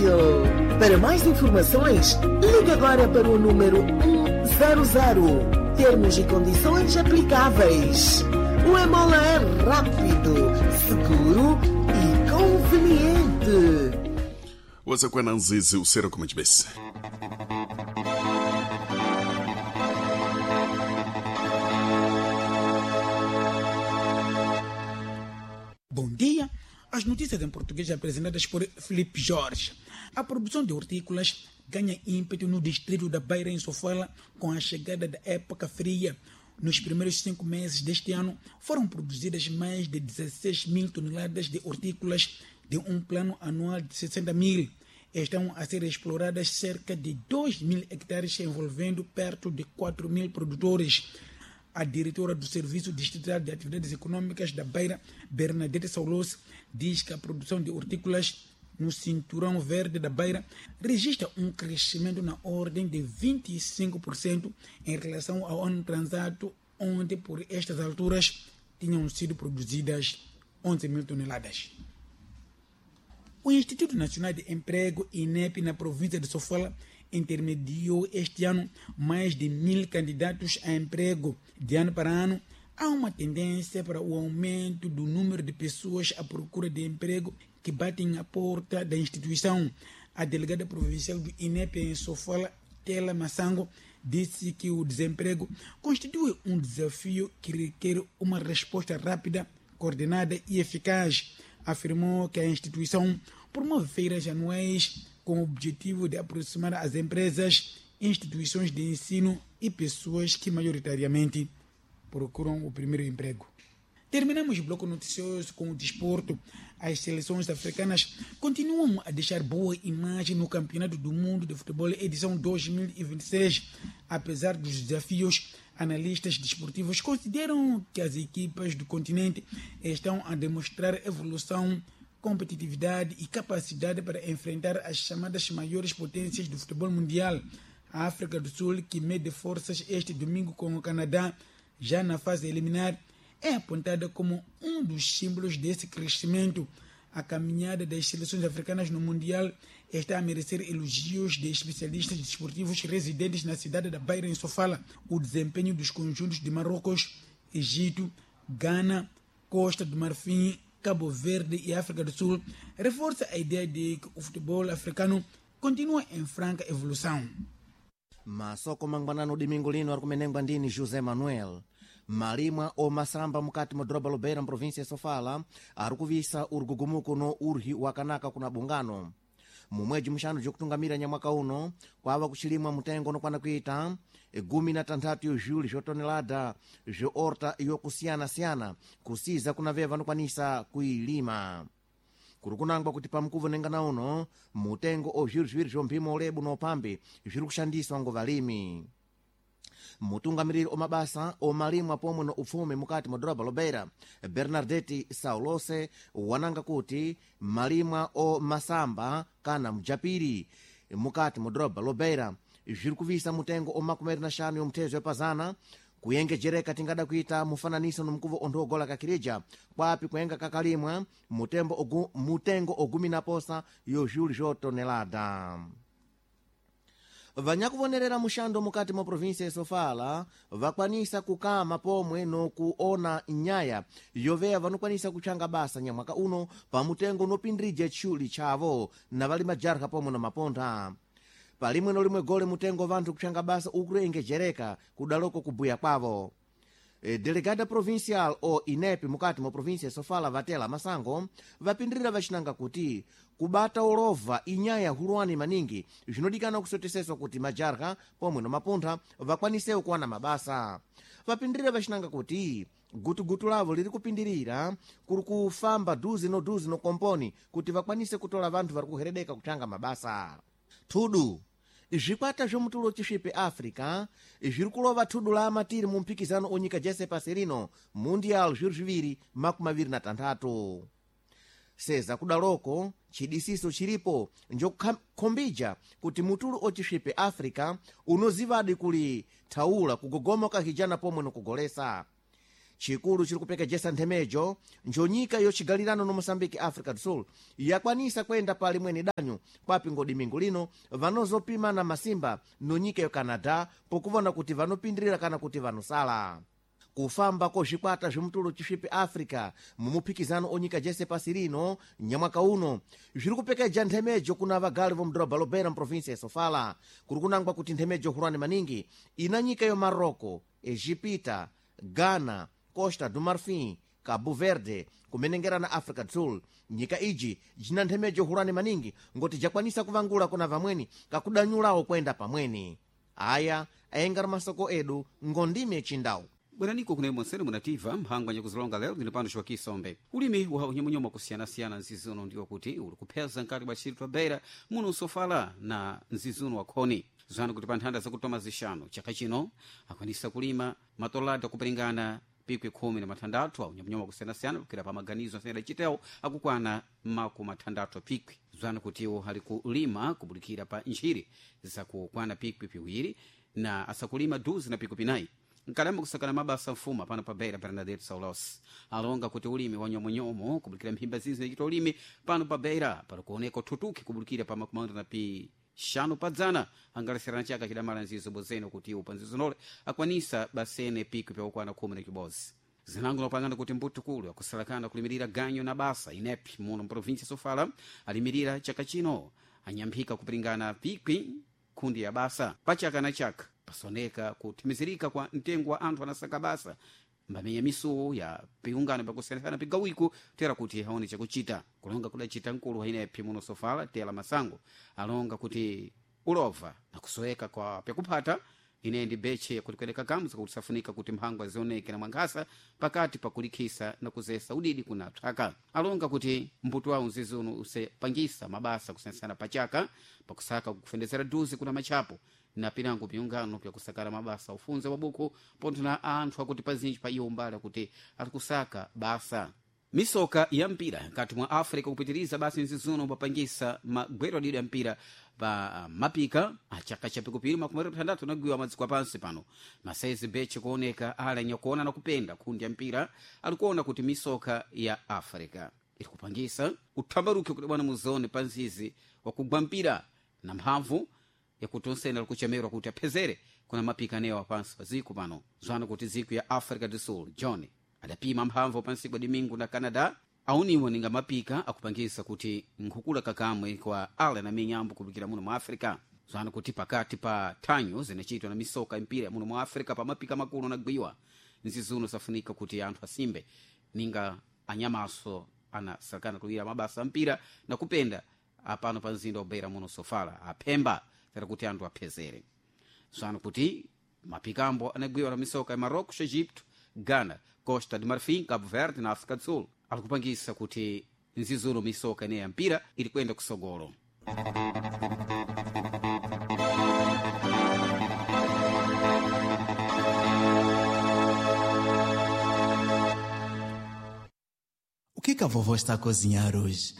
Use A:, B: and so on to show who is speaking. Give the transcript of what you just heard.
A: fácil. Para mais informações, ligue agora para o número 100. Termos e condições aplicáveis. O Emola é rápido, seguro e conveniente.
B: Wazakwana nzizi usera kumachibese.
C: Bom dia. As notícias em português apresentadas por Felipe Jorge. A produção de hortícolas ganha ímpeto no distrito da Beira, em Sofala, com a chegada da época fria. Nos primeiros 5 meses deste ano, foram produzidas mais de 16 mil toneladas de hortícolas de um plano anual de 60 mil. Estão a ser exploradas cerca de 2 mil hectares, envolvendo perto de 4 mil produtores. A diretora do Serviço Distrital de Atividades Econômicas da Beira, Bernadette Saulos, diz que a produção de hortícolas no cinturão verde da Beira registra um crescimento na ordem de 25% em relação ao ano transato, onde por estas alturas tinham sido produzidas 11 mil toneladas. O Instituto Nacional de Emprego, INEP, na província de Sofala, intermediou este ano mais de 1.000 candidatos a emprego. De ano para ano, há uma tendência para o aumento do número de pessoas à procura de emprego que batem à porta da instituição. A delegada provincial do INEP em Sofala, Tela Massango, disse que o desemprego constitui um desafio que requer uma resposta rápida, coordenada e eficaz. Afirmou que a instituição promove feiras anuais com o objetivo de aproximar as empresas, instituições de ensino e pessoas que maioritariamente procuram o primeiro emprego. Terminamos o bloco noticioso com o desporto. As seleções africanas continuam a deixar boa imagem no Campeonato do Mundo de Futebol edição 2026. Apesar dos desafios, analistas desportivos consideram que as equipas do continente estão a demonstrar evolução, competitividade e capacidade para enfrentar as chamadas maiores potências do futebol mundial. A África do Sul, que mede forças este domingo com o Canadá, já na fase eliminar, é apontada como um dos símbolos desse crescimento. A caminhada das seleções africanas no Mundial está a merecer elogios de especialistas desportivos residentes na cidade da Beira, em Sofala. O desempenho dos conjuntos de Marrocos, Egito, Gana, Costa do Marfim, Cabo Verde e África do Sul reforça a ideia de que o futebol africano continua em franca evolução.
D: Masoko mangwanano domingo lino ari ndini José Manuel. Malimwa omasamba mukati mwa doroba Lobeira, mprovinsia ya Sofala, ari kuvisa urugugumuko no urhi wakanaka kuna bungano. Mumweji muxanu jokutungamira nyamwaka uno kwava kuxilimwa mutengo unokwana kuita 16 yo juli zvotonelada zvoorta yokusiyana-siyana, kusiza kuna veva vanokwanisa kuilima. Kuri kunangwa kuti pamukuvo nengana uno mutengo o zviro zviviri zvomphimo ulebu no uphambi zviri kushandiswa ngo valimi. Mutungamiriri omabasa omalimwa pomwe no upfumi mukati mwa doroba Lobeira, Bernadette Saulose, wananga kuti malimwa o masamba kana mjapiri mukati mwa doroba Lobeira zviri kuvisa mutengo o 25 yomthezo yapazana, kuyengejereka tingada kuita mufananiso no mkuvo onthu ogola kakirija, kwapi kuyenga kakalimwa mutembo ogu, mutengo ogumi na posa yo juli zvotonelada. Vanyakuvonerera muxando mukati mwa província ya Sofala vakwanisa kukama pomwe nokuona nyaya yoveya vanokwanisa kutchanga basa nyamwaka uno pamutengo unopindirija tchuli chavo na vali majarha pomwe na mapontha. Palimwe nolimwe gole mutengo vanthu kutchanga basa ukulengejereka kudaloko kubuya kwavo. Delegada provincial o INEP mukati mwa província ya Sofala, Vatela Masango, vapindirira vacinanga kuti kubata ulova inyaya hulwani maningi, zvinodikana kusoteseswa kuti majarha pomwe no mapuntha vakwanisewo kuwana mabasa. Vapindirira vacinanga kuti gutugutu lavo liri kupindirira kuri kufamba duzi no duzi no komponi kuti vakwanise kutola vanthu vari kuheredeka kutanga mabasa. Thudu zvikwata zvomutulo chisvipe Africa zviri kulova thudu la amatiri mu mphikizano onyika jese pasi rino Mundial 2026. Seza kudaloko chidisiso chilipo njokukhombija kuti mutulo ocisvipe Africa unozivadi kuli thaula kugogoma kahijana pomwe nokugolesa. Chikulu chiri kupekejesa nthemejo njonyika yochigalirano no Moçambique Africa do Sul yakwanisa kwenda pa limweni danyo kwapi ngodimingu lino vanozopimana masimba nonyika yo Canadá pokuvona kuti vanopindirira kana kuti vanosala. Kufamba ko zvikwata zvimutulu chisvipi Africa mumuphikizano onyika jese pasi rino nyamwaka uno zviri kupekeja nthemejo kuna vagali vomudhorobha Lobeira muprovinsia ya Sofala. Kuri kunangwa kuti nthemejo hulwani maningi ina nyika yo Marocco, Egipita, Ghana, Costa do Marfim, Cabo Verde kumenengera na Africa do Sul. Nyika iji jina nthemejo hulwani maningi ngoti jakwanisa kuvangula kuna vamweni kakudanyulawo kwenda pamweni. Aya ayengari masoko edu ngondime chindau.
E: Bweraniko kuno monsene munativa mphangwa nyakuzilonga lero ndine pano Joaquim Ulimi wa unyamunyoma kusiyanasiyana nzizuno ndiwo kuti uli kupheza nkati bwa tchito twa Beira muno Sofala na nzizuno wa khoni. Zanu kuti pa nthanda zakutoma zixanu chaka chino akwanisa kulima matolada kuperingana pikwi 16 a unyamunyoma kusiyanasiyana kukira pa maganizo asene adacitewo akukwana 60 pikwi. Zanu kutiwo ali kulima kubulikira pa ntchire zakukwana pikwi 2 na asakulima duzi na pikwi 4. Nkalamba kusakana mabasa mfuma pano pa Beira Bernadette Saulos alonga kuti ulimi wa nyomonyomo kubulikira mphimba zinzi nachita ulimi pano pa Beira pali kuoneka uthutuki kubulikira pa 55 padzana angaleserana chaka chidamala nzizo bozeno kuti upa nzizo akwanisa basene pikwi pyakukwana 11. Zinango lopangana kuti mbutukulu akusalakana kulimirira ganyo na basa inepi muno mprovinsia Sofala alimirira chaka chino anyamphika kupiringana pikwi khundi ya basa pachaka na chaka pasoneka kuthimizirika kwa mtengo wa anthu anasaka basa mbamenya misuwo ya piungano pakusiyanasiyana pigawiko tera kuti aone chakuchita. Kulonga kudacita mkulu wa inepi muno Sofala Tela Masango alonga kuti ulova na kusoweka kwa pyakuphata ine ndi beche kuti kueleka kamza kuti safunika kuti mphangwa zioneke na mwankhasa pakati pakulikhisa na kuzesa udidi kuna thaka. Alonga kuti mbuto wawo mzizi uno usepangisa mabasa kusiyanasiyana pachaka pakusaka kufendezera duzi kuna machapo na pinango piungano pyakusakala mabasa ufunze wabuku pontho na anthu akuti pazinji pa iwo mbali akuti arikusaka basa. Misoka ya mpira nkati mwa Africa kupitiriza basi nzizuno papangisa magwero adidi ya mpira pa mapika achaka cha pikupiri 26 anagwiwa madziko apansi pano masaizi beche kuoneka ali anyakuona na kupenda khundi ya mpira alikuona kuti misoka ya Africa iri kupangisa uthambaruke kuti bwana muzone pa nzizi wakugwa mpira na mphamvu yakuti onsene alikuchemerwa kuti aphezere kuna mapika anewo apansi pa ziko pano. Zwana kuti ziko ya Africa do Sul John adapima mphamvu pansi kwa Domingo na Canada auniwo ninga mapika akupangisa kuti nkhukula kakamwe kwa ala na minyambo kulikira muno mu Africa. Zwana kuti pakati pa thanyo zinachitwa na misoka impira muno mu Africa pa mapika makulu anagwiwa nzizuno safunika kuti anthu asimbe ninga anyamaso anasakana kulira mabasa ampira na kupenda apano pa mzinda wa Beira muno Sofala aphemba tera kuti anthu aphezere. Zwana kuti mapikambo anagwiwa na misoka ya Marrocos, Egipto, Ghana, Costa de Marfim, Cabo Verde na África do Sul alikupangisa kuti nzizuno misoka ineyi ya mpira ili kuyenda kusogolo.
F: O que que a vovó está a cozinhar hoje?